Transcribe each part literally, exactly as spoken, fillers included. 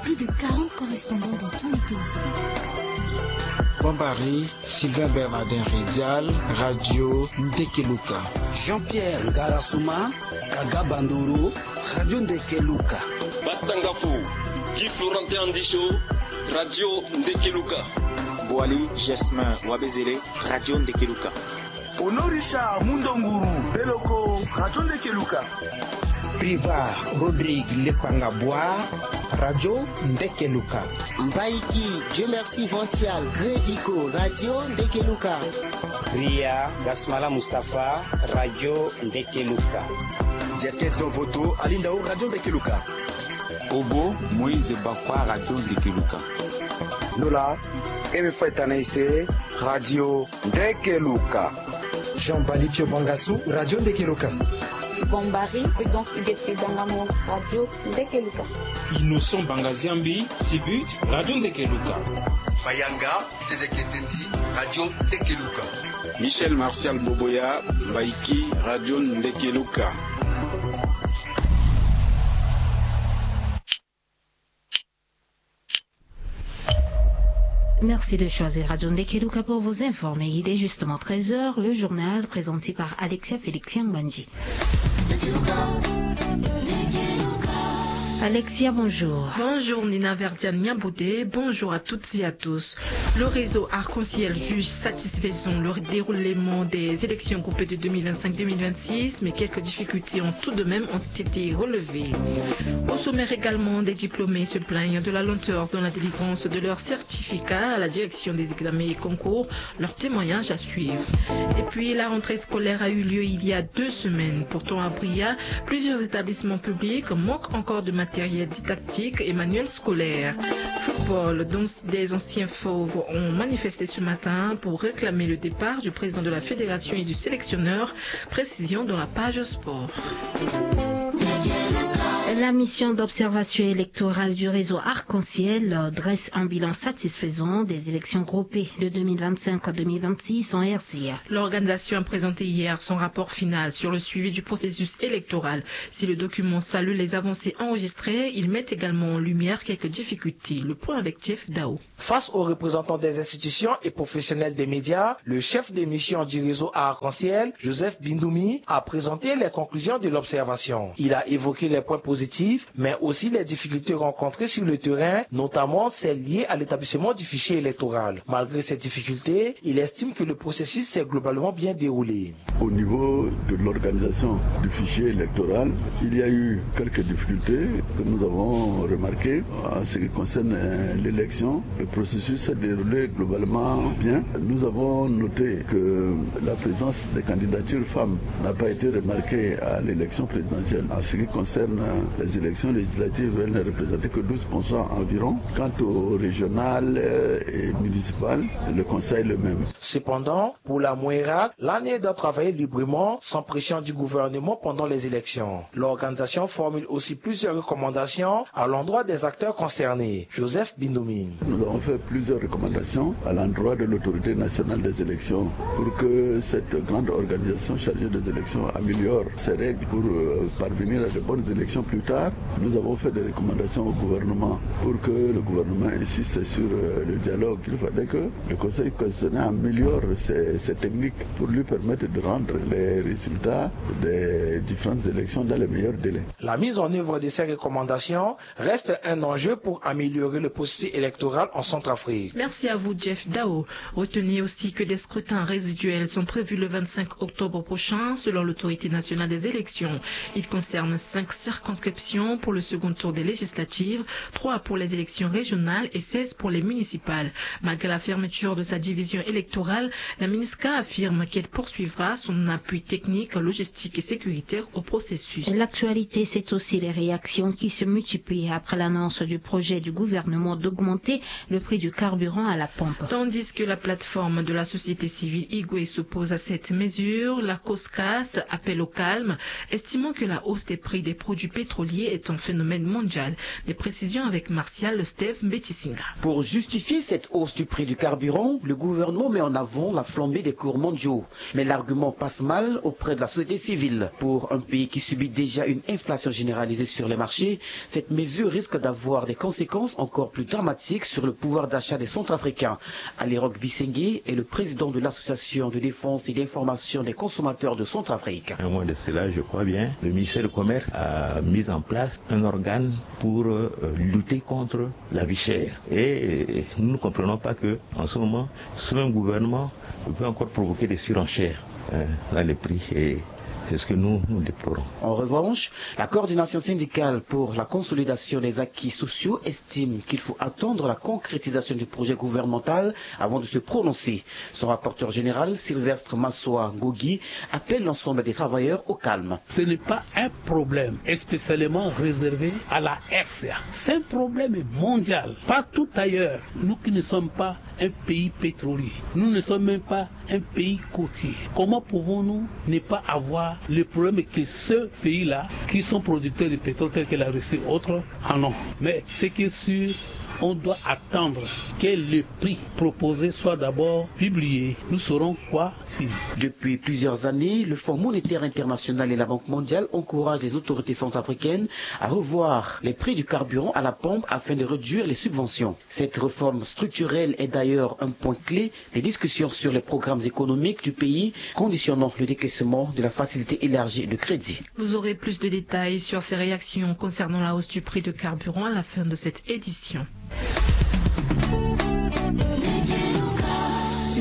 Plus de quarante correspondants dans tous les pays. Bambari, Sylvain Bernardin Redial, Radio Ndekeluka. Jean-Pierre Ngarasuma, Kaga Bandoro, Radio Ndekeluka. Batangafo, Guy Florentin Andicho, Radio Ndekeluka. Boali Jasmin Wabezele, Radio Ndekeluka. Honoré Richard Mundonguru Beloko, Radio Ndekeluka. Priva Rodrigue Lepanga Bois, Radio Ndekeluka. Mbaiki Dieu Merci Vancial Grévico, Radio Ndekeluka. Ria Gasmala Mustapha, Radio Ndekeluka. Jeskes Dovoto Alindao, Radio Ndekeluka. Obo Moïse Bakwa, Radio Ndekeluka. Nola Eme Faitanaise, Radio Ndekeluka. Jean Balipio Bangasu, Radio Ndekeluka. Bombari Prudence Huguette Dangamo, Radio Ndekeluka. Innocent Bangaziambi, Sibut, Radio Ndekeluka. Mayanga Tedeketeti, Radio Ndekeluka. Michel Martial Boboya, Mbaiki, Radio Ndekeluka. Merci de choisir Radio Ndekeluka pour vous informer. Il est justement treize heures, le journal présenté par Alexia Félix Yambandi. Alexia, bonjour. Bonjour Nina Verdiane Niabodé, bonjour à toutes et à tous. Le réseau Arc-en-Ciel juge satisfaisant le déroulement des élections groupées de deux mille vingt-cinq deux mille vingt-six, mais quelques difficultés ont tout de même ont été relevées. Au sommaire également, des diplômés se plaignent de la lenteur dans la délivrance de leur certificat à la direction des examens et concours. Leur témoignage à suivre. Et puis, la rentrée scolaire a eu lieu il y a deux semaines. Pourtant, à Bria, plusieurs établissements publics manquent encore de matériel didactique et manuel scolaire. Football, dont des anciens fauves ont manifesté ce matin pour réclamer le départ du président de la fédération et du sélectionneur. Précision dans la page sport. La mission d'observation électorale du réseau Arc-en-Ciel dresse un bilan satisfaisant des élections groupées de deux mille vingt-cinq à deux mille vingt-six en R C A. L'organisation a présenté hier son rapport final sur le suivi du processus électoral. Si le document salue les avancées enregistrées, il met également en lumière quelques difficultés. Le point avec Jeff Dao. Face aux représentants des institutions et professionnels des médias, le chef de mission du réseau Arc-en-Ciel, Joseph Bindoumi, a présenté les conclusions de l'observation. Il a évoqué les points positifs, mais aussi les difficultés rencontrées sur le terrain, notamment celles liées à l'établissement du fichier électoral. Malgré ces difficultés, il estime que le processus s'est globalement bien déroulé. Au niveau de l'organisation du fichier électoral, il y a eu quelques difficultés que nous avons remarquées en ce qui concerne, euh, l'élection. Le processus s'est déroulé globalement bien. Nous avons noté que la présence des candidatures femmes n'a pas été remarquée à l'élection présidentielle. En ce qui concerne, euh, les élections législatives, elles ne représentaient que douze pour cent environ. Quant aux régionales, euh, et municipales, le constat est le même. Cependant, pour la MOERAC, l'ANI doit travailler librement, sans pression du gouvernement pendant les élections. L'organisation formule aussi plusieurs recommandations à l'endroit des acteurs concernés. Joseph Bindoumi. Nous avons fait plusieurs recommandations à l'endroit de l'Autorité nationale des élections pour que cette grande organisation chargée des élections améliore ses règles pour, euh, parvenir à de bonnes élections plus tard. Nous avons fait des recommandations au gouvernement pour que le gouvernement insiste sur, euh, le dialogue. Il faudrait que le Conseil constitutionnel améliore ses, ses techniques pour lui permettre de rendre les résultats des différentes élections dans les meilleurs délais. La mise en œuvre de ces recommandations reste un enjeu pour améliorer le processus électoral en Centrafrique. Merci à vous, Jeff Dao. Retenez aussi que des scrutins résiduels sont prévus le vingt-cinq octobre prochain, selon l'Autorité nationale des élections. Ils concernent cinq circonscriptions pour le second tour des législatives, trois pour les élections régionales et seize pour les municipales. Malgré la fermeture de sa division électorale, la MINUSCA affirme qu'elle poursuivra son appui technique, logistique et sécuritaire au processus. L'actualité, c'est aussi les réactions qui se multiplient après l'annonce du projet du gouvernement d'augmenter le prix du carburant à la pompe. Tandis que la plateforme de la société civile Igwe s'oppose à cette mesure, la COSCAS appelle au calme, estimant que la hausse des prix des produits pétroliers pétrolier est un phénomène mondial. Les précisions avec Martial Steve Mbetisinga. Pour justifier cette hausse du prix du carburant, le gouvernement met en avant la flambée des cours mondiaux. Mais l'argument passe mal auprès de la société civile. Pour un pays qui subit déjà une inflation généralisée sur les marchés, cette mesure risque d'avoir des conséquences encore plus dramatiques sur le pouvoir d'achat des Centrafricains. Ali Rock Bisengui est le président de l'association de défense et d'information des consommateurs de Centrafrique. Au moins de cela, je crois bien, le ministère du Commerce a mis en place un organe pour euh, lutter contre la vie chère. Et euh, nous ne comprenons pas que, en ce moment, ce même gouvernement peut encore provoquer des surenchères euh, dans les prix. Et c'est ce que nous, nous déplorons. En revanche, la coordination syndicale pour la consolidation des acquis sociaux estime qu'il faut attendre la concrétisation du projet gouvernemental avant de se prononcer. Son rapporteur général, Sylvestre Massoa Gogi, appelle l'ensemble des travailleurs au calme. Ce n'est pas un problème spécialement réservé à la R C A. C'est un problème mondial. Partout ailleurs, nous qui ne sommes pas un pays pétrolier, nous ne sommes même pas un pays côtier. Comment pouvons-nous ne pas avoir le problème que ceux pays-là, qui sont producteurs de pétrole tels que la Russie et autres, en ont ? Mais ce qui est sûr, on doit attendre que le prix proposé soit d'abord publié. Nous saurons quoi suivre. Depuis plusieurs années, le Fonds monétaire international et la Banque mondiale encouragent les autorités centrafricaines à revoir les prix du carburant à la pompe afin de réduire les subventions. Cette réforme structurelle est d'ailleurs un point clé des discussions sur les programmes économiques du pays conditionnant le décaissement de la facilité élargie de crédit. Vous aurez plus de détails sur ces réactions concernant la hausse du prix de carburant à la fin de cette édition.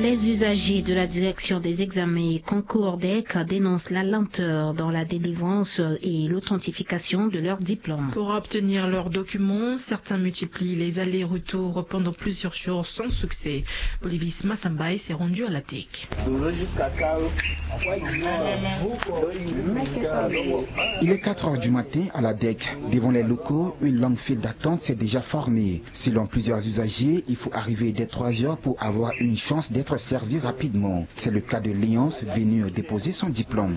Les usagers de la direction des examens et concours DEC dénoncent la lenteur dans la délivrance et l'authentification de leurs diplômes. Pour obtenir leurs documents, certains multiplient les allers-retours pendant plusieurs jours sans succès. Bolivis Massambaye s'est rendu à la DEC. Il est quatre heures du matin à la DEC. Devant les locaux, une longue file d'attente s'est déjà formée. Selon plusieurs usagers, il faut arriver dès trois heures pour avoir une chance d'être servi rapidement. C'est le cas de Léonce, venu déposer son diplôme.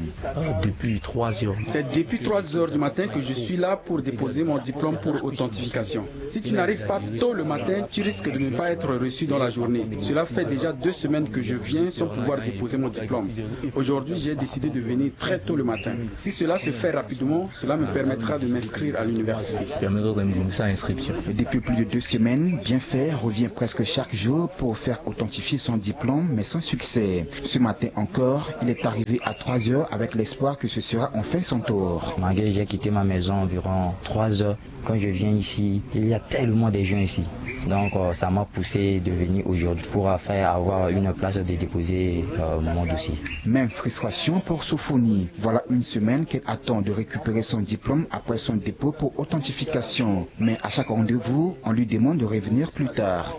Depuis trois heures. C'est depuis trois heures du matin que je suis là pour déposer mon diplôme pour authentification. Si tu n'arrives pas tôt le matin, tu risques de ne pas être reçu dans la journée. Cela fait déjà deux semaines que je viens sans pouvoir déposer mon diplôme. Aujourd'hui, j'ai décidé de venir très tôt le matin. Si cela se fait rapidement, cela me permettra de m'inscrire à l'université. Permettra de me inscription. Depuis plus de deux semaines, Bienfait revient presque chaque jour pour faire authentifier son diplôme, mais sans succès. Ce matin encore, il est arrivé à trois heures avec l'espoir que ce sera enfin son tour. Malgré j'ai quitté ma maison environ trois heures, quand je viens ici, il y a tellement de gens ici. Donc euh, ça m'a poussé de venir aujourd'hui pour faire avoir une place de déposer euh, mon dossier. Même frustration pour Sophonie. Voilà une semaine qu'elle attend de récupérer son diplôme après son dépôt pour authentification. Mais à chaque rendez-vous, on lui demande de revenir plus tard.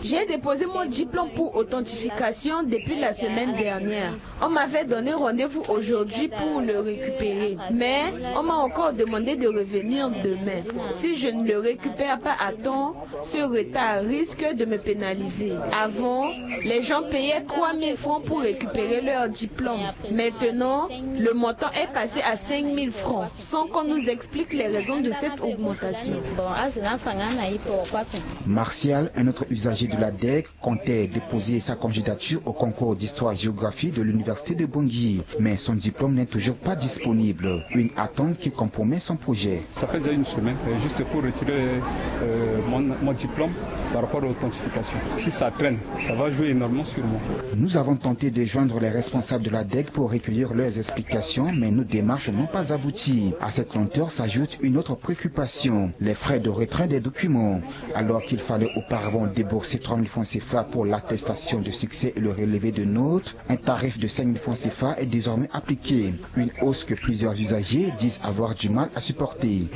J'ai déposé mon diplôme pour authentification depuis la semaine dernière. On m'avait donné rendez-vous aujourd'hui pour le récupérer, mais on m'a encore demandé de revenir demain. Si je ne le récupère pas à temps, ce retard risque de me pénaliser. Avant, les gens payaient trois mille francs pour récupérer leur diplôme. Maintenant, le montant est passé à cinq mille francs, sans qu'on nous explique les raisons de cette augmentation. Martial, un autre usager de la DEC, comptait déposer sa candidature au concours d'histoire-géographie de l'université de Bangui. Mais son diplôme n'est toujours pas disponible. Une attente qui compromet son projet. Ça fait déjà une semaine, euh, juste pour retirer euh, mon, mon diplôme par rapport à l'authentification. Si ça traîne, ça va jouer énormément sur moi. Nous avons tenté de joindre les responsables de la DEC pour recueillir leurs explications, mais nos démarches n'ont pas abouti. À cette lenteur s'ajoute une autre préoccupation, les frais de retrait des documents. Alors qu'il fallait auparavant débourser trois mille francs CFA pour l'attestation de succès et le relevé de notes, un tarif de cinq mille francs CFA est désormais appliqué. Une hausse que plusieurs usagers disent avoir du mal à supporter.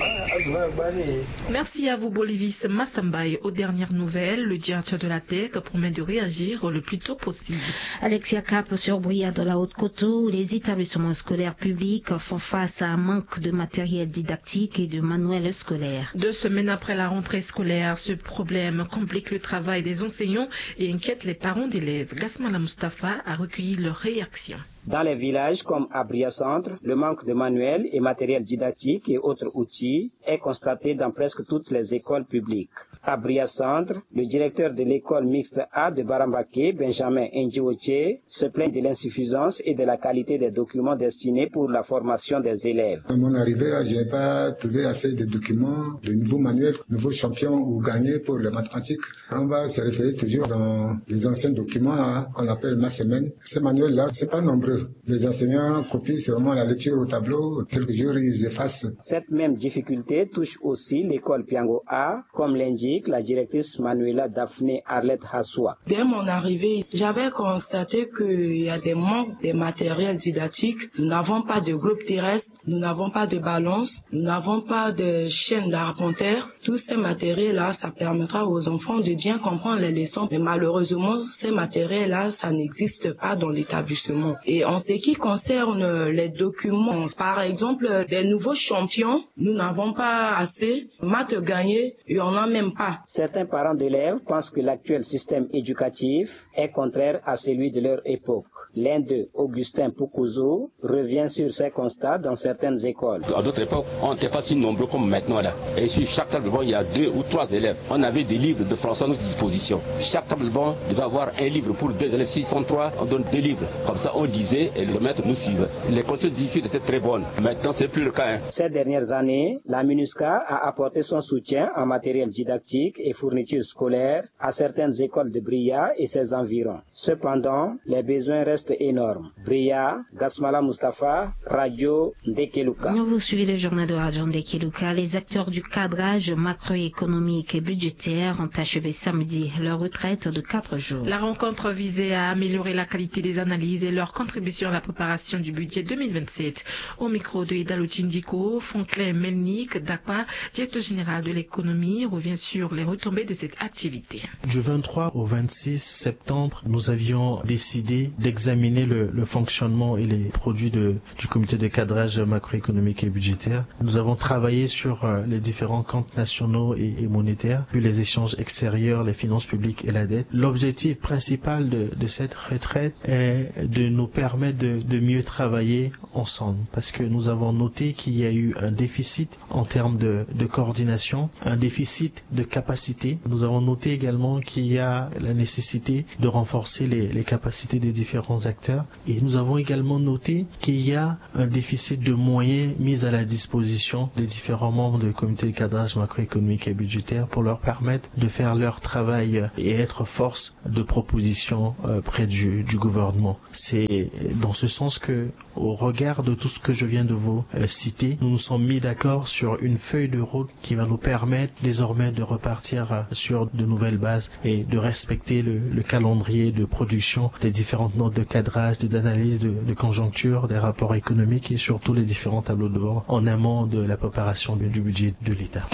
Merci à vous, Bolivis Massambaye. Aux dernières nouvelles, le directeur de la DEC promet de réagir le plus tôt possible. Alexia Cap sur Bria dans la Haute-Kotto, où les établissements scolaires publics font face à un manque de matériel didactique et de manuels scolaires. Deux semaines après la rentrée scolaire, ce problème complique le travail des enseignants et inquiète les parents d'élèves. Gasmala Mustafa a recueilli leurs réactions. Dans les villages comme Abria Centre, le manque de manuels et matériel didactique et autres outils est constaté dans presque toutes les écoles publiques. À Bria Centre, le directeur de l'école mixte A de Barambake, Benjamin Ndjiwoche, se plaint de l'insuffisance et de la qualité des documents destinés pour la formation des élèves. À mon arrivée, je n'ai pas trouvé assez de documents, de nouveaux manuels, nouveaux champions ou gagnés pour les mathématiques. On va se référer toujours dans les anciens documents là, qu'on appelle ma semaine. Ces manuels-là, c'est pas nombreux. Les enseignants copient seulement la lecture au tableau. Quelques jours, ils effacent. Cette même difficulté touche aussi l'école Piango A, comme l'indique la directrice Manuela Daphné Arlette Hassoua. Dès mon arrivée, j'avais constaté qu'il y a des manques de matériel didactique. Nous n'avons pas de globe terrestre, nous n'avons pas de balance, nous n'avons pas de chaîne d'arpenteurs. Tous ces matériels-là, ça permettra aux enfants de bien comprendre les leçons. Mais malheureusement, ces matériels-là, ça n'existe pas dans l'établissement. Et en ce qui concerne les documents, par exemple, des nouveaux champions, nous n'avons pas assez. Maths gagnés, il n'y en a même pas. Certains parents d'élèves pensent que l'actuel système éducatif est contraire à celui de leur époque. L'un d'eux, Augustin Poukouzou, revient sur ces constats dans certaines écoles. À d'autres époques, on n'était pas si nombreux comme maintenant là. Et sur chaque table de banc, il y a deux ou trois élèves. On avait des livres de français à notre disposition. Chaque table de banc devait avoir un livre pour deux élèves. S'ils sont trois, on donne deux livres. Comme ça, on lisait et le maître nous suivait. Les conditions d'études étaient très bonnes. Maintenant, c'est plus le cas, hein. Ces dernières années, la MINUSCA a apporté son soutien en matériel didactique et fourniture scolaire à certaines écoles de Bria et ses environs. Cependant, les besoins restent énormes. Bria, Gasmala Mustapha, Radio Ndekeluka. Vous suivez le journal de Radio Ndekeluka. Les acteurs du cadrage macroéconomique et budgétaire ont achevé samedi leur retraite de quatre jours. La rencontre visait à améliorer la qualité des analyses et leur contribution à la préparation du budget deux mille vingt-sept. Au micro de Edalo Tindiko, Franklin Melnik Dakpa, directeur général de l'économie, revient sur les retombées de cette activité. Du vingt-trois au vingt-six septembre, nous avions décidé d'examiner le, le fonctionnement et les produits de, du comité de cadrage macroéconomique et budgétaire. Nous avons travaillé sur, euh, les différents comptes nationaux et, et monétaires, puis les échanges extérieurs, les finances publiques et la dette. L'objectif principal de, de cette retraite est de nous permettre de, de mieux travailler ensemble, parce que nous avons noté qu'il y a eu un déficit en termes de, de coordination, un déficit de capacité. Nous avons noté également qu'il y a la nécessité de renforcer les, les capacités des différents acteurs. Et nous avons également noté qu'il y a un déficit de moyens mis à la disposition des différents membres du comité de cadrage macroéconomique et budgétaire pour leur permettre de faire leur travail et être force de proposition, euh, près du, du gouvernement. C'est dans ce sens que, au regard de tout ce que je viens de vous, euh, citer, nous nous sommes mis d'accord sur une feuille de route qui va nous permettre désormais de repartir, euh, sur de nouvelles bases et de respecter le, le calendrier de production des différentes notes de cadrage, des analyses de, de conjoncture, des rapports économiques et surtout les différents tableaux de bord en amont de la préparation du, du budget de l'État.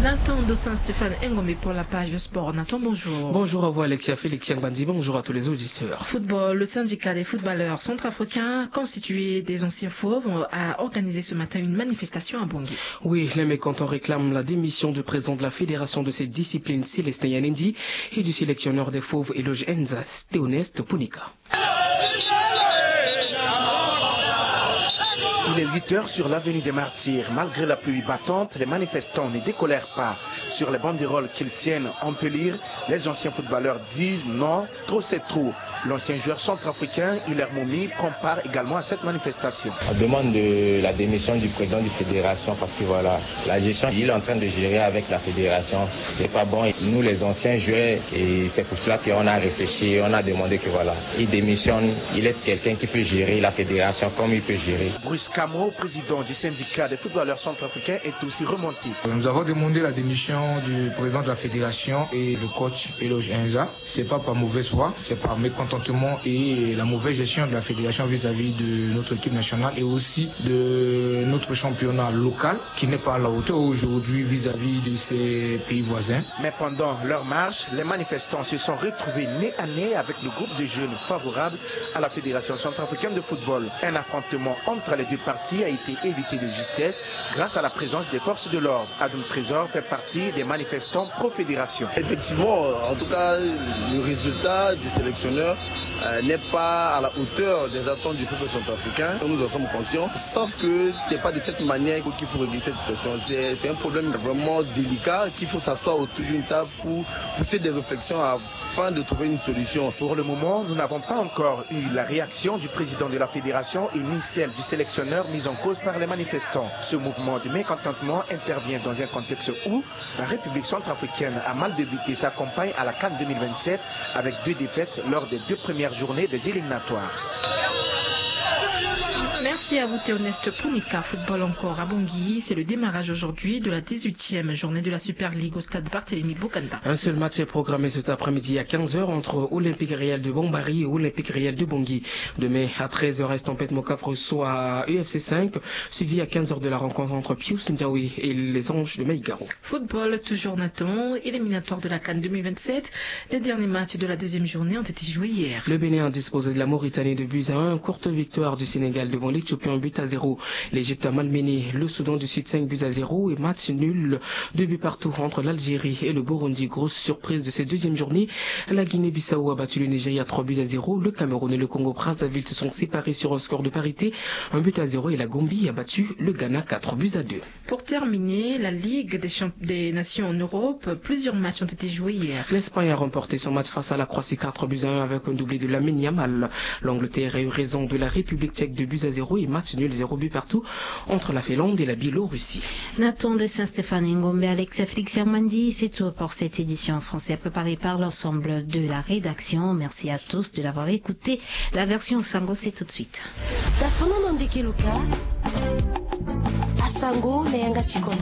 Nathan Dosan Stéphane Engombe pour la page de sport. Nathan, bonjour. Bonjour à vous, Alexia Félix Yangbanzi. Bonjour à tous les auditeurs. Football, le syndicat des footballeurs centrafricains, constitué des anciens fauves, a organisé ce matin une manifestation à Bangui. Oui, les mécontents réclament la démission du président de la fédération de cette discipline, Célestin Yanendi, et du sélectionneur des fauves, Eloge Enza, Théoneste Punika. Il est huit heures sur l'avenue des Martyrs. Malgré la pluie battante, les manifestants ne décolèrent pas. Sur les banderoles qu'ils tiennent, on peut lire : « Les anciens footballeurs disent non, trop c'est trop. » L'ancien joueur centrafricain Hilaire Momi prend part également à cette manifestation. On demande de la démission du président de fédération parce que voilà, la gestion qu'il est en train de gérer avec la fédération, c'est pas bon. Et nous, les anciens joueurs, et c'est pour cela qu'on a réfléchi, on a demandé que voilà, il démissionne, il laisse quelqu'un qui peut gérer la fédération comme il peut gérer. Bruce Camo, président du syndicat des footballeurs centrafricains, est aussi remonté. Nous avons demandé la démission du président de la fédération et le coach Eloge Enza. C'est pas par mauvaise foi, c'est par mécontentement. contentement et la mauvaise gestion de la fédération vis-à-vis de notre équipe nationale et aussi de notre championnat local qui n'est pas à la hauteur aujourd'hui vis-à-vis de ses pays voisins. Mais pendant leur marche, les manifestants se sont retrouvés nez à nez avec le groupe de jeunes favorables à la Fédération centrafricaine de football. Un affrontement entre les deux parties a été évité de justesse grâce à la présence des forces de l'ordre. Adam Trésor fait partie des manifestants pro-fédération. Effectivement, en tout cas, le résultat du sélectionneur euh, n'est pas à la hauteur des attentes du peuple centrafricain. Nous en sommes conscients. Sauf que c'est pas de cette manière qu'il faut régler cette situation. C'est un problème vraiment délicat, qu'il faut s'asseoir autour d'une table pour pousser des réflexions afin de trouver une solution. Pour le moment, nous n'avons pas encore eu la réaction du président de la fédération et ni celle du sélectionneur mis en cause par les manifestants. Ce mouvement de mécontentement intervient dans un contexte où la République centrafricaine a mal débuté sa campagne à la CAN deux mille vingt-sept avec deux défaites lors des deux premières journées des éliminatoires. Merci à vous, Théoneste Punika. Football encore à Bangui, c'est le démarrage aujourd'hui de la dix-huitième journée de la Super League au stade Barthélémy Bokanda. Un seul match est programmé cet après-midi à quinze heures entre Olympique Réel de Bombari et Olympique Réel de Bangui. Demain à treize heures, Estampette Mocaf reçoit U F C cinq, suivi à quinze heures de la rencontre entre Pius Ndiaoui et les Anges de Maïgaro. Football, toujours Nathan, éliminatoire de la CAN deux mille vingt-sept. Les derniers matchs de la deuxième journée ont été joués hier. Le Bénin a disposé de la Mauritanie de buts à un, courte victoire du Sénégal devant l'Éthiopie, un but à zéro. L'Égypte a malmené le Soudan du Sud, cinq buts à zéro, et match nul, deux buts partout entre l'Algérie et le Burundi. Grosse surprise de cette deuxième journée, la Guinée-Bissau a battu le Nigeria trois buts à zéro. Le Cameroun et le Congo-Brazzaville se sont séparés sur un score de parité, un but à zéro, et la Gambie a battu le Ghana quatre buts à deux. Pour terminer, la Ligue des, champ- des Nations en Europe, plusieurs matchs ont été joués hier. L'Espagne a remporté son match face à la Croatie, quatre buts à un, avec un doublé de Lamine Yamal. L'Angleterre a eu raison de la République tchèque, deux buts à zéro, et match nul, zéro but partout entre la Finlande et la Biélorussie. Nathan de Saint-Stéphane Ngombe, Alexia Félix Yamandi, c'est tout pour cette édition en français préparée par l'ensemble de la rédaction. Merci à tous de l'avoir écouté. La version Sango, c'est tout de suite. Dafa na ndeke luka. Asango na yanga ti kondo.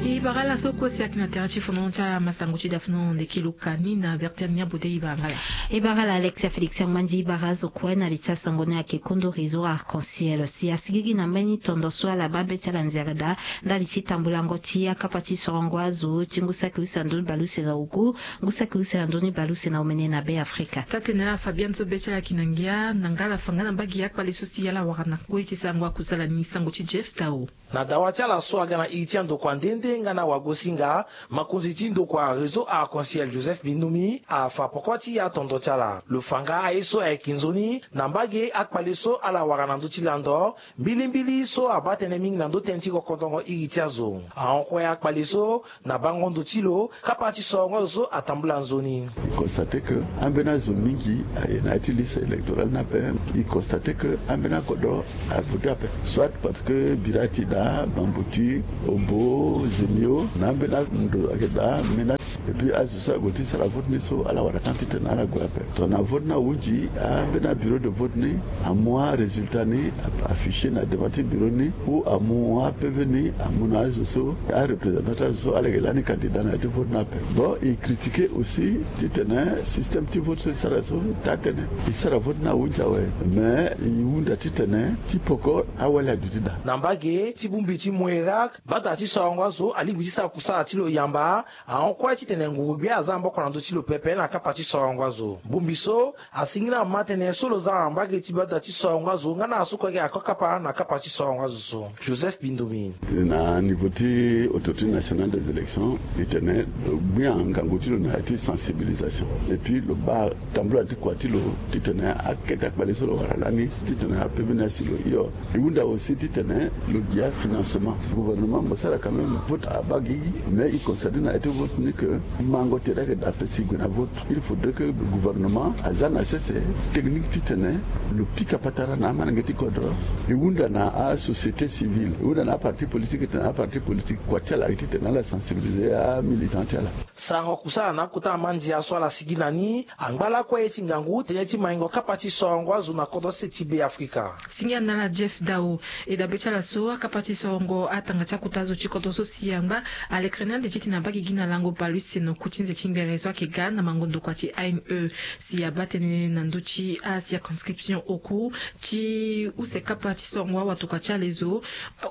E bara ala so kue si ayeke na tere ti fono ti ala masango ti dafa na ndeke luka ni na vertiane ni abude. E bara ala. E bara ala Alexia Félix Yangmandi. E bara azo kue na li ti asango ni ayeke kondo réseau Arc-en-Ciel si asigigi na mbeni tondo so ala baa be ti ala nzere daa ndali ti tambulango ti akapa ti sorongo azo ti ngu saki use na ndö ni baleuse na oku, ngu saki use na ndö ni baleuse na omene na Be Afrika. Taa-tene ala Fabian so be ti ala yeke na ngia na nga ala fa nga na mbage akpale so si ala wara na kue ti sango akusala ni sango ti Jeff Tao. Na dawa ti ala so aga na iri ti andokua nde nde nga na wagosinga, makonzi ti ndokua réseau Arc-en-Ciel Joseph Bindumi afa poko ti atondo ti ala. Lo fa nga aye so ayeke nzoni na mbage akpale so ala wara na ndö ti lando, mbilimbili so abaa tënë mingi na ndö tënë ti kokodongo iri ti azo. Ahon kue akpale so na bango ndo ti lo kapa ti sorongo azo so atambula nzoni. E constate que ambeni azo mingi aye na ya ti liste électorale ni ape. E constate que ambeni akodro avote ape, soit parce que bira ti daa, bambuti, obo, zemio, na ambeni ando ayeke daa menace. Et puis azo so ague ti sara vote ni so ala wara temps titene ala gue ape. Tongana vote ni ahunzi, ambeni abureau de vote ni amu arésultat ni, afficher na devant ti bureau ni, ou amu aPV ni amu na azo so, areprésentant ti azo so ala yeke lani candidat na ya ti vote ni ape. Bon, e critiquer aussi titene système ti vote so e sara so taa-tënë. E sara vote ni ahunzi awe, mais e hunda titene ti poko awali aduti daa. Na mbage ti bongbi ti Mouérak, bata ti sorongo azo alingbi ti sara kusala ti lo yamba. Ahon kue titene nguru-gbia aza na maboko na ndö ti lo pepe na kapa ti sorongo azo. Bongbi so asingi na mama tënë so lo za na mbage ti bata ti sorongo azo nga na aso kue ayeke ako kapa na kapa ti sorongo azo so. Joseph Bindomi. Na niveau ti Autorité nationale des élections, e tene lo gbia ngangu ti lo na ya ti sensibilisation. Et puis lo baa tambula ti kua ti lo titene akete akpale so lo wara lani titene ape veni asi lo hio. E hunda aussi titene lo gi afinancement. Gouvernement mo sara quand même vote abaa gigi, mais e constate na ya ti vote ni que mango tere ayeke daa ape si e gue na vote. Il faudrait que gouvernement aza na sese technique titene lo pika patara na amolenge ti kodro. E hunda na asociété civile, e hunda na aparti politique, titene aparti politique kua ti ala ayeke titene ala sensibiliser amilitant ti ala. Sarango kusala na akota amandia so ala sigi na ni angba lakue ye ti ngangu tënë ti maingo kapa ti sorongo azo na kodro sese ti Be Afrika. Singia na ala Jeff Dao. E dabe ti ala so akapa ti sorongo atanga ti akota azo ti kodro so si angu Ba alekere ni ande ti tene abaa gi gi na lango baleuse na oku ti nze ti ngbere so ayeke ga na mango ndokua ti A N E. Si abaa tënë na ndö ti acirconscription oku ti use kapa ti sorongo awatokua ti alezo,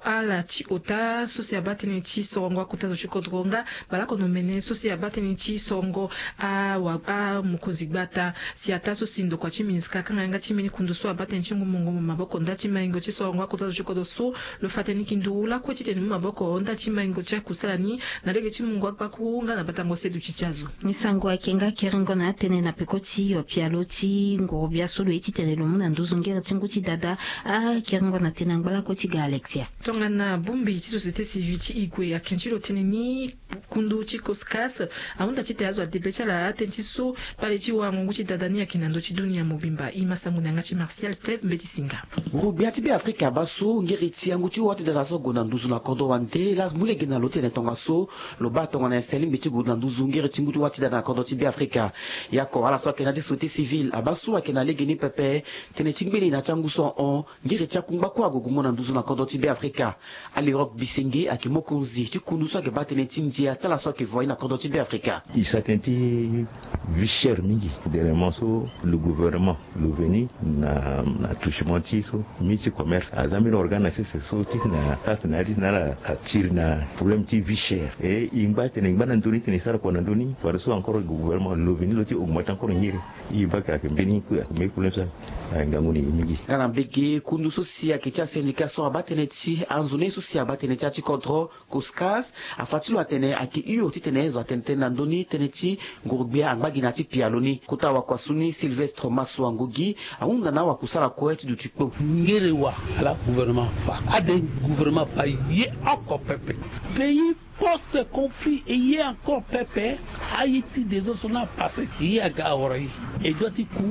ala ti ota so si abaa tënë ti sorongo akota zo ti kodro nga baleoko na omene so si abaa tënë ti sorongo awa amokonzi gbata. Si ataa so si ndokua ti MINUSCA akanga yanga ti mbeni kundu so abaa tënë ti ngu mungo mu maboko nda ti maingo ti sorongo akota zo ti kodro so, lo fa tënë ni ki nduru lakue ti tene mu maboko nda ti maingo ti akusala ni na lege ti mungo akpakuru nga na batango sedu ti ti azo. Ni sango ayeke nga kerengo na atënë na peko ti yo pialo ti nguru-gbia so lo ye ti tene lo mu na nduzu ngere ti ngu ti dada. Akerengo na tënë angba lakue ti ga Alexia. Tongana bongbi ti société civile ti e gue ayeke ti lo tënë ni, kundu ti Coscas ahunda ti tene azo ade be ti ala atënë ti so kpale ti warango ngu ti dada ni ayeke na ndö ti dunia mobimba. E ma sango na yanga ti Martial Steve Mbeti Singa. Nguru-gbia ti Beafrika abaa so ngere ti angu ti wâ ti dada so ague na nduzu na kodro wande laa mu lege na lo ti tene tongaso lo baa tongana nyen si alingbi ti gue na nduzu ngere ti ngu ti wâ ti dada na kodro ti Beafrika. Yaku ala so ayeke na ya ti société civile abaa so ayeke na legeni pepe tënë ti ngbeni na ya ti angu so ahon ngere ti akungba kue ague gue mo na nduzu na kodro ti Beafrika. Ali Rock Bisenge ayeke mokonzi ti kundu so ayeke baa tënë ti ndia ti ala so ayeke voye na kodro ti Beafrika. E sara tënë ti vie chère mingi. Dernièrement so le gouvernement lo veni na na touchement ti so ministre ti commerce aza mbeni organe na sese so ti na partenariat ti na ala atiri na problème ti vie chère. E e ngba tene e ngba na ndö ni tene e sara kua na ndö ni wala so encore gouvernement lo veni lo ti augmenter encore ngiri. E baka ayeke mbeni ayeke mbeni problème so. Ngangu na e mingi. Nga na mbege kundu so si ayeke ti asyndicat so abaa tënë ti anzoni so si abaa tënë ti ya ti kodro Coscas afa ti lo atene ayeke hio ti tene zo atene tënë na ndö ni tënë ti nguru-gbia angba gi na ya ti pialo ni. Kota wakua so ni Sylvestre Masso Angogi ahunda na awakusala kue ti duti kpo. Ngere wa ala gouvernement afa ade gouvernement afa ye oko pepe. Pays post conflit e ye encore pepe. Aye ti des autres so na passé e ye aga awara e. E dua ti ku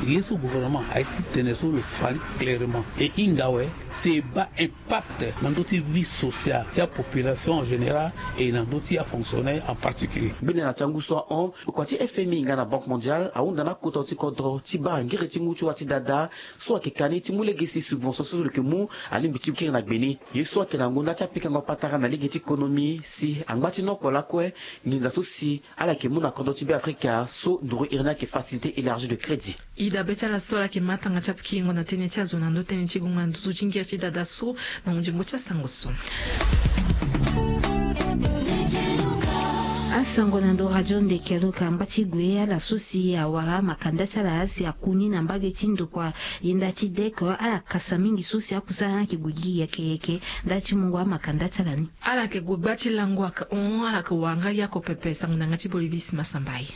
ye so gouvernement aye ti tene so lo fa ni clairement e hinga awe. Si e baa impact na ndö ti vie sociale ti apopulation en général et na ndö ti afonctionnaire en particulier. Mbeni na ti angu so ahon kua ti F M I nga na Banque Mondiale ahunda na akota ti kodro ti baa ngere ti ngu ti wâ ti dada so ayeke ka ni ti mu lege si subvention so lo yeke mu alingbi ti kiri na gbe ni. Ye so ayeke na ngonda ti apikango patara na lege ti konomi si angba ti nokpo lakue nginza so si ala yeke mu na kodro ti Beafrika so nduru iri ni ayeke facilité élargie de crédit. Ida be ti ala so ala yeke ma tanga ti apikingo na tënë ti azo na ndö tënë ti gonga na nduzu ti ngere ti dada so. Na hunzingo ti asango so. Asango na ndo radio ndeke luka ngba ti gue ala so si awara amakanda ti ala si aku ni na mbage ti ndokua yenda ti dek ala kasa mingi so si akusala ni ayeke gue gi yeke yeke. Nda ti mungo amakanda ti ala ni ala yeke gue gba ti lango ayeke hon ala yeke wara nga yako pepe sango na yanga ti bolivis masambai.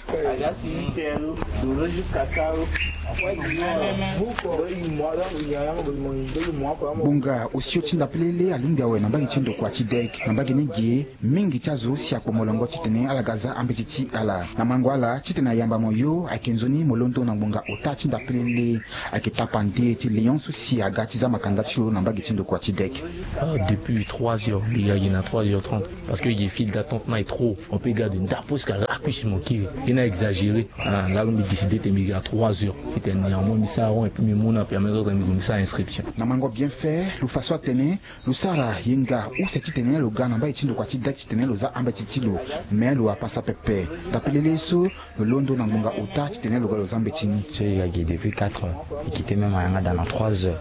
Ngbonga osio ti ndapelele alingbi awe na mbage ti ndokua ti dek na mbage ni ge. Mingi ti azo si akpo molongo titene ala ga za ambeti ti ala na mango ala titene ayamba mo yo ayeke nzoni mo londo na ngbonga ota ti ndapelele. Ayeke tapande ti léon so si aga ti za makanda ti lo na mbage ti ndokua ti dek. Depuis trois heures mbi ga gi na trois heures trente parce que gi file d'attente na e trop. On peut ga de ndapo jusqu'à lakuisi mo kiri. Ye na exagéré. Lalo mbi décidé te mbi ga trois heures titene néanmoins mbi sara rond et puis mbi mu na permettre mbi gue mbi sara inscription. Na mango bien fait lo fa so atene lo sara yenga use titene lo ga na mbai ti ndokua ti dek titene lo za ambeti ti lo. Mais lo apasa pepe. Tapelele so lo londo na ngbonga ota titene lo ga lo za mbeti ni. So e ga gi depuis quatre heures e quitté même ayanga da na trois heures.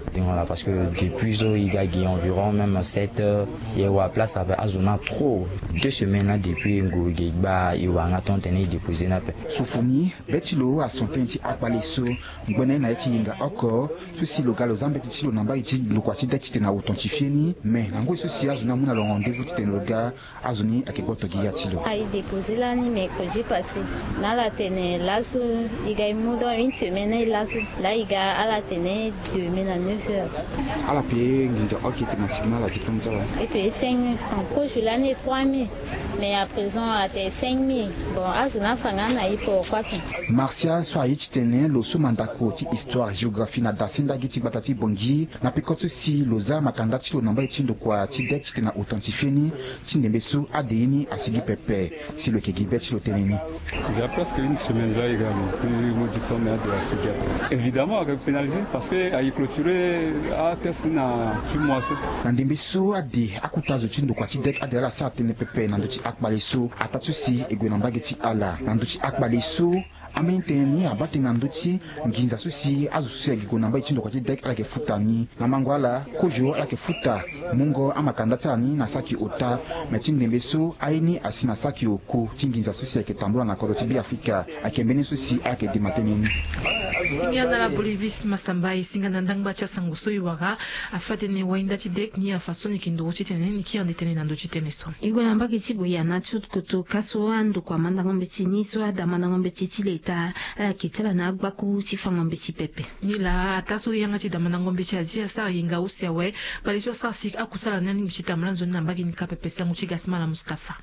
Parce que depuis so e ga gi environ même sept heures. E wara place ape azo na trop. Deux semaines la depuis nguru gi gba e wara nga ton tene e déposé ni ape. Sofoni be ti lo ason tënë ti akpale so. Ngbene na ye ti yenga oko so si lo ga lo za mbeti ti lo na mbai ti ndokua ti dek titene awo ton ti fie ni. Mais na ngoi so si azo ni amu na lo rendez-vous titene lo ga azo ni ayeke gboto gi ya ti lo. Aye déposé lani mercredi passé. Na ala tene laso e ga e mu donc une semaine laso. La e ga ala tene demain na neuf heures. Ala pe nginza oke tene asigi na ala diplôme ti ala. E pe cinq mille francs kozo lani e trois mille. Mais à présent ate cinq mille. Bon, azo na afanga na ye pourquoi pas. Martial so aye titene lo so mandako ti histoire, géographie na dasendagi ti gbata ti Bangui na peko so si lo za makanda ti lo na mbai ti ndokua ti dek titene na otan ti feni ti ndembe so ade ye ni asigi pepe. Si lo yeke gi be ti lo tënë ni. Il y a presque une semaine là, il y a mon diplôme de la CEDEAP. Évidemment, avec pénalisé, parce que a clôturé à test na six mois. Na ndembe so ade akuta zo ti ndokua ti dek ade ala sara tënë pepe na ndö ti akpale so ataa so si e gue na mbage ti ala na ndö ti akpale so. Ambeni tënë ni abaa tënë na ndö ti nginza so si azo so si ayeke gue na mbage ti ndokua ti dek ala yeke futa ni. Na mango ala kozo ala yeke futa mungo amakanda ti ala ni na saki ota. Me ti ndembe so aye ni asi na saki oko ti nginza so si ayeke tambula na kodro ti Beafrika. Ayeke mbeni so si ala yeke dema tënë ni. Singa na la Bolivie si masamba e singa na ndangba ti asango so e wara. Afa tënë wainda ti dek ni afa so ni yeke nduru titene ni kiri ande tënë na ndö ti tënë so. E gue na mbage ti Guyana ti koto ka so andokua mandango mbeti ni so ada mandango mbeti ti leta ala yeke ti ala na agbakuru ti fango mbeti pepe. Nilaa ataa so yanga ti da mandango mbeti azi asara yenga use awe. Kpale so asara si akusala ni alingbi ti tambula nzoni na mbage ni ka pepe. Sango ti Gasimala Mustapha.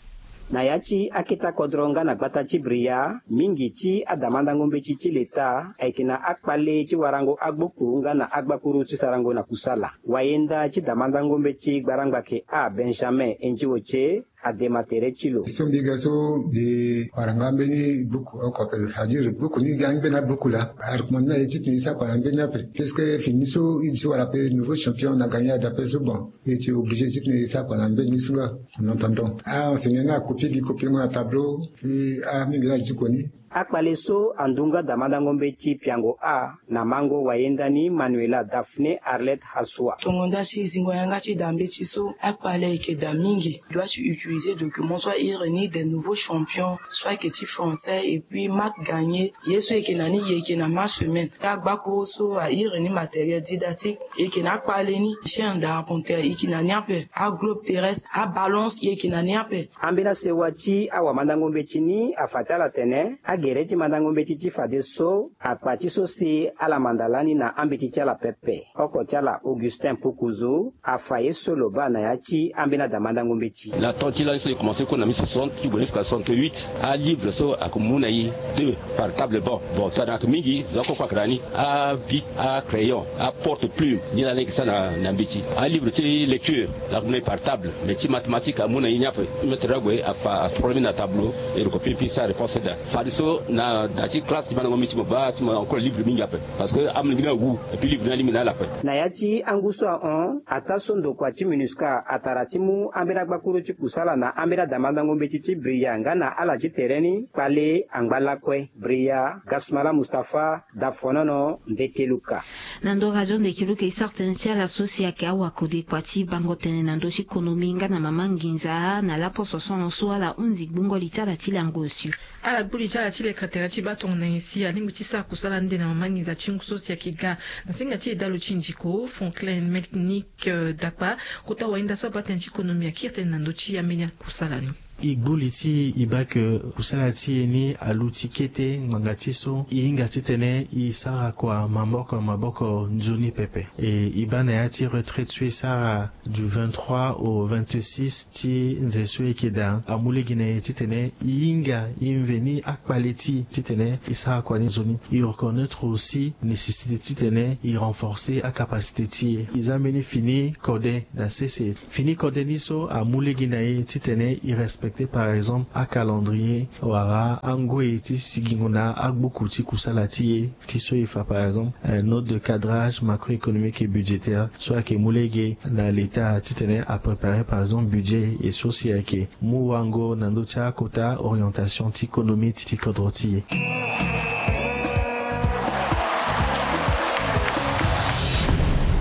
Na ya ti akete kodro nga na gbata ti Bria, mingi ti ada mandango mbeti ti leta ayeke na akpale ti warango agbokuru nga na agbakuru ti sarango na kusala. Wayenda ti da mandango mbeti gbarangba ke a Benjamin Endioche adema tere ti lo. So mbi ga so mbi wara nga mbeni buku oko ape, c'est-à-dire buku ni ga ni mbeni abuku laa. A recommande na ye titene e sara kua na mbeni ape, puisque fini so e si wara ape nouveau champion na gagné ada ape so, bon, e ti obligé titene e sara kua na mbeni so nga. En attendant a enseignant ni acopie gi copie ngo na tableau. Puis a mingi na diko ni. Akpale so andu nga da mandango mbeti piango a na mango wayenda ni Manuela Daphné Arlette Hassoua. Tongo nda ti zingo yanga ti da mbeti so akpale ayeke da mingi. Doit ti utiliser document so a iri ni des nouveaux champions so ayeke ti français et puis marque gagné. Ye so e yeke na ni e yeke na ma semaine. Agbakuru so a iri ni matériel didactique e yeke na akpale ni. Chaîne d'arpenter e yeke na ni ape. Aglobe terrestre, abalance e yeke na ni ape. Ambeni asewa ti awamandango mbeti ni afa ti ala atene agere ti mandango mbeti ti fadeso akpa ti so si ala manda lani na ambeti ti ala pepe. Oko ti ala Augustin Pukuzu afa ye so lo baa na ya ti ambeni ada mandango mbeti. Na temps ti lani so e commencé kue na mille soixante ti gue jusqu'à soixante-huit, alivre so ayeke mu na e deux par table banc. Bon, tongana ayeke mingi zo akoko ayeke na ni, abic, acrayon, aporte plume, ni lani ayeke sara na, na mbeti. Alivre ti lecture, la mu na e par table, mais ti mathématique amu na e ni ape. Ti maître ague afa, aproblème na tableau, e recopier puis sara réponse da. Fadeso na da ti classe ti mandango mbeti mo baa ti mo encore livre mingi ape. Parce que amolenge ni awu, et puis livre ni alingbi na ala ape. Na ya ti angu so ahon, ataa so ndokua ti MINUSCA atara ti mu ambeni agbakuru ti kusala na ambeni ada mandango mbeti ti Bria nga na ala ti tere ni, kpale angba lakue. Bria, Gasmala Mustapha, Dafonono, Ndekeluka. Na ndo radio Ndekeluka e sara tënë ti ala so si ayeke awakode kua ti bango tënë na ndö ti konomi nga na mama nginza na laposo so ahon so ala hunzi gbungo li ti ala ti lango osio. Ala gbu li ti ala ti leke tere ti baa tongana nyen si alingbi ti sara kusala ande na mama nginza ti ngu so si ayeke ga na singa ti edalo ti ndiko Franklin Melnik, eh, Dakpa, kota wahinda so abaa tënë ti konomi akiri tënë na ndö ti ambeni akusala ni. E gbu li ti e baa ke kusala ti e ni aluti kete ngbanga ti so e hinga titene e sara kua maboko na maboko nzoni pepe. E, e baa na ya ti retraite so e sara du vingt-trois au vingt-six ti nze so e yeke daa, amu lege na e titene e hinga e mveni akpale ti e titene e sara kua ni nzoni. E reconnaître aussi nécessité titene e renforcer acapacité ti e. E za mbeni fini kode na sese. Fini kode ni so amu lege na e titene e respecter, par exemple, acalendrier wala angoi ti sigingo na agbuku ti kusala ti e, ti so e fa, par exemple, eh, note de cadrage macroéconomique et budgétaire so ayeke mu lege na l'État titene apréparer, par exemple, budget, e so si ayeke mu wango na ndö ti akota orientation ti konomi ti, ti kodro ti e.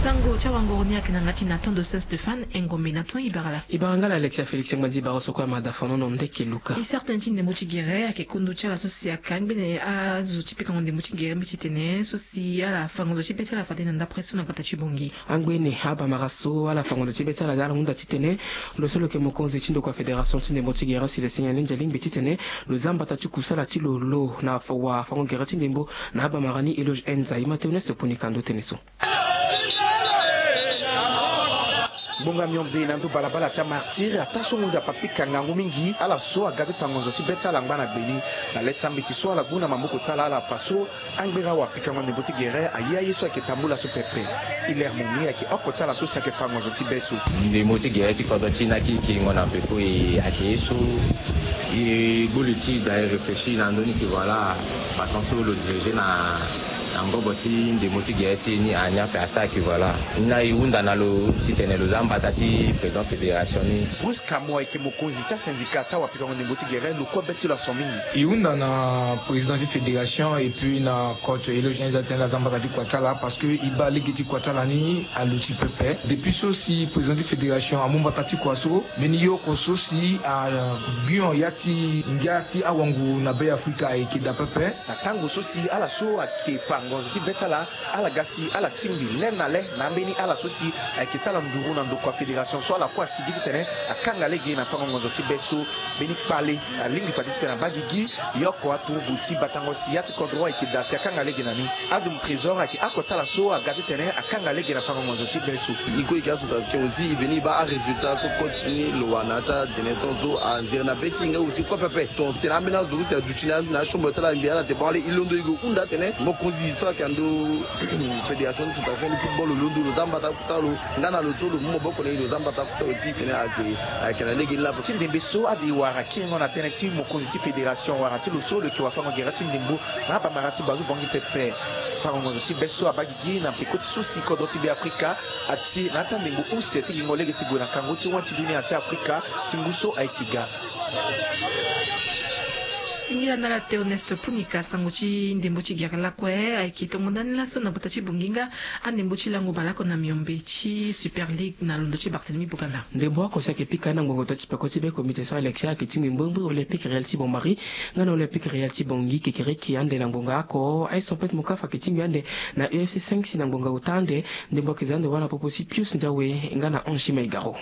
Sango ti awangoro ni ayeke na ngati na ton de Saint Stéphane, Engombe na ton Ibarala. Ibara nga la Alexia Félix Ngbandi Ibara so kue amada fanono ndeke luka. E sara tënë ti ndembo ti gere ayeke kondo ti ala so si aka ngbene azo ti pikango ndembo ti gere mbeti tene so si ala fango zo ti be ti ala fade na ndapre so na gbata ti Bangui. Angbene abamara so ala fango lo ti be ti ala daa ala hunda titene lo so lo yeke mokonzi ti ndokua fédération ti ndembo ti gere si lo senge ni nze alingbi titene lo za mbata ti kusala ti lo lo na fa wa fango gere ti ndembo na abamara ni Eloge Enza. E ma teuneuse poni kando tënë so. Ngbonga miombe na ndo balabala ti amartyre ataa so ngonzi apapika ngangu mingi ala so aga ti fa ngonzo ti be ti ala angba na gbeni. Na le ti ambeti so ala gbu na maboko ti ala ala fa so angbera wapikango ndembo ti gere aye aye so ayeke tambula so pepe. Hilaire Momi ayeke oko ti ala so si ayeke fa ngonzo ti be so. Ndembo ti gere ti kodro ti na kiri kiringo na peko e ayeke ye so e gbu li ti da e réfléchir na ndö ni ke voilà. Façon so lo dirige na na ngobo ti ndembo ti gere ti e ni ani ape asara ke voilà. Ni na e hunda na lo titene lo za mbata ti président fédération ni. Bruce Kamo ayeke mokonzi ti asyndicat ti awapikango ndembo ti gere, lo kue be ti lo aso mingi. E hunda na président ti fédération et puis na coach Eloge Nza titene la za mbata ti kua ti ala parce que e baa lege ti kua ti ala ni aluti pepe. Depuis so si président ti fédération amu mbata ti kua so, mbeni ye oko so si agbion ya ti ngia ti awangu na Be Afrika ayeke daa pepe. Na tango so si ala so ayeke fa ngonzo ti be ti ala, ala ga si ala tingbi le na le na ambeni ala so si ayeke ti ala nduru na ndokua fédération so ala kue asigi titene akanga lege na fango ngonzo ti be so. Mbeni kpale alingbi fade titene abaa gigi. Ye oko aturugu ti batango si ya ti kodro ayeke daa si akanga lege na ni. Adum Trésor ayeke oko ti ala so aga titene akanga lege na fango ngonzo ti be so. E kue e yeke acentrafricain aussi, e veni e baa arésultat so coach ni lo wara na ya ti atene tongaso anzere na be ti e nga aussi kue pepe. Tongaso tene ambeni azo use aduti na achombre ti ala mbi ala te bon ale e londo e gue hunda atene mokonzi so ayeke na ndo fédération ti centrafricain ti football lo londo lo za mbata kusala lo nga na lo so lo mu maboko na e lo za mbata kusala lo ti tene ayeke ayeke na lege ni laa. Ti ndembe so ade e wara kiringo na tënë ti mokonzi ti fédération wala ti lo so lo yeke wafango gere ti ndembo na abamara ti bazu bongi pepe. Fango ngonzo ti be so abaa gigi na peko ti so si kodro ti Be Afrika ati na ya ti andembo use ti gingo lege ti gue na kangu ti wani ti dunia ti Afrika ti ngu so ayeke ga. Singila na ala Théoneste Punika, sango ti ndembo ti gere lakue ayeke tongo ndani laso na bota ti bongi nga andembo ti lango baleoko na miombe ti Super League na londo ti Barthélemy Boganda. Ndembo oko si ayeke pika na ngbongo ota ti peko ti be comité so Alexia ayeke tingbi mbrimbri Olympique Real ti Bonmarie nga na Olympique Real ti Bongi kekereke ande na ngbonga oko. Aye Sompet Mokafa ayeke tingbi ande na U F C cinq si na ngbonga ota ande. Ndembo ayeke za ande wâ na popo ti Pius Ndiawe nga na Ange Maigaro.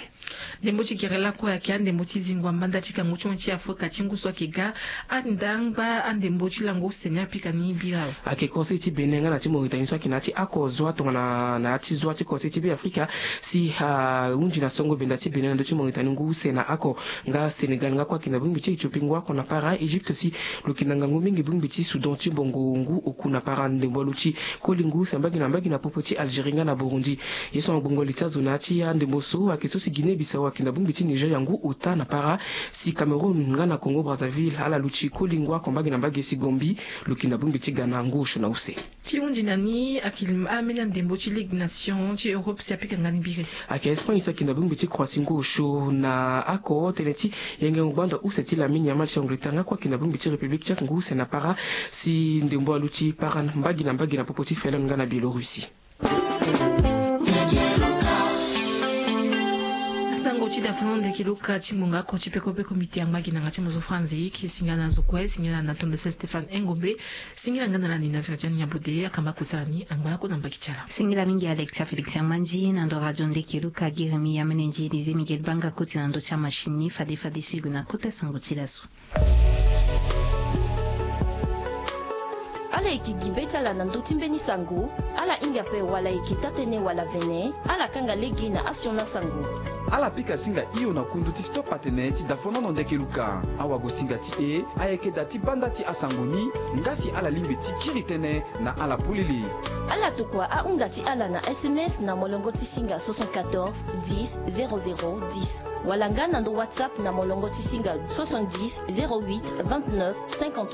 Ndembo ti gere lakue ayeke andembo ti zingo ambanda ti kangu ti wani ti Afrika ti ngu so ayeke ga. Andangba andembo ti lango use ni apika ni bira awe. Ayeke conseil ti Bénin nga na ti Mauritanie so ayeke na ya ti oko zwa tongana na ya ti zwa ti conseil ti Be Afrika si ahunzi na songo benda ti Bénin na ndö ti Mauritanie ngu use na oko. Nga Sénégal nga kue ayeke na bongbi ti Éthiopie ngu oko na para. Égypte si lo yeke na ngangu mingi bongbi ti Soudan ti mbongo ngu oku na para ndembo aluti koli ngu use mbage na mbage na popo ti Algérie nga na Burundi. Ye so na gbongo li ti azo na ya ti andembo so ayeke so si Guinée Bissau ayeke na bongbi ti Nigeria ngu ota na para. Si Cameroun nga na Congo Brazzaville ala luti koli ngu oko mbage na mbage si Gambie lo yeke na bongbi ti Ghana ngu osio na use. Ti hunzi na ni ayeke ambeni andembo ti Ligue Nation ti Europe si apika nga ni biri. Ayeke Espagne si ayeke na bongbi ti Croatie ngu osio na oko. Tënë ti yengengo gbanda use ti Lamine Yamal ti Angleterre nga kue ayeke na bongbi ti République Tchèque ngu use na para. Si ndembo aluti para mbage na mbage na popo ti Finlande nga na Biélorussie. Asango ti dafono ndeke luka ti ngbonga oko ti peko peko miti angba gi na nga ti mozo Franzi ki singila na zo kue, singila na tondo se Stéphane Engombe, singila nga na lani na Virginie Nyabode akamba kusala ni angba oko na mbagi ti ala. Singila mingi Alexia Félix Amandi na ndo radio ndeke luka Girimi Yamene Nji Élisée Miguel Banga koti na ndo ti amachine ni fade fade so e gue na kota sango ti laso. Ala yeke gi be ti ala na ndö ti mbeni sango, ala hinga ape wala e yeke taa-tënë wala vene, ala kanga lege na asioni asango. Ala pika singa hio na kundu ti stop atene ti dafonono ndeke luka. Awagosinga ti e ayeke da ti banda ti asango ni, nga si ala lingbi ti kiri tënë na ala polele. Ala tokua ahunda ti ala na S M S na molongo ti singa soixante-quatorze dix zéro zéro dix, wala nga na ndo WhatsApp na molongo ti singa soixante-dix zéro huit vingt-neuf cinquante.